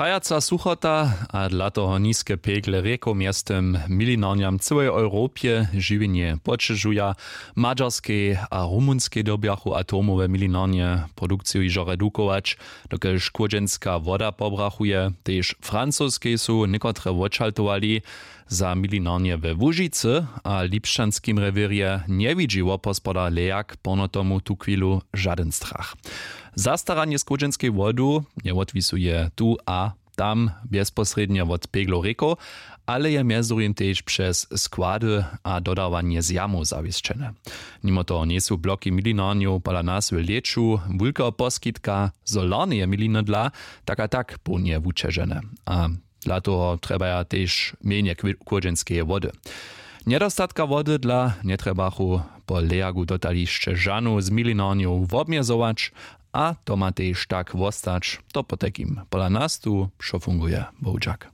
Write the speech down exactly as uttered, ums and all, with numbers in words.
Hajaca suchota a dla toho niske pegle rěkow mjeztym milinarnjam w cyłej europje žiwjenje poćežuja. W madźarskej a rumunskej dyrbjachu atomowe milinarnje produkciju hižo redukować, dokelž chłódźenska woda pobrachuje. Tež w francoskej su někotre wočaltowali. Za milinarnje we łužicy a lipšćanskim rewěrje njewidźi wopospodar lejak porno tomu tuchwilu žadyn strach. Zastaranje z chłódźenskej wodu njewotwisuje tu a tam bjezposrědnje wot peglow rěkow, ale je mjez druhim tež přez składy a dodawanje z jamow zawěsćene. Nimo toho njejsu bloki milinarnjow pola nas w lěću wulkeho poskitka solarneje miliny dla tak a tak połnje wućežene. A dla toho trjebaja tež mjenje chłódźenskeje wody. Njedostatka wody dla njetrjebachu po lejagu dotališće žanow z milinarnjow wobmjezować. A to ma tež tak wostać. To potajkim pola nas tu wšo funguje. Bohudźak.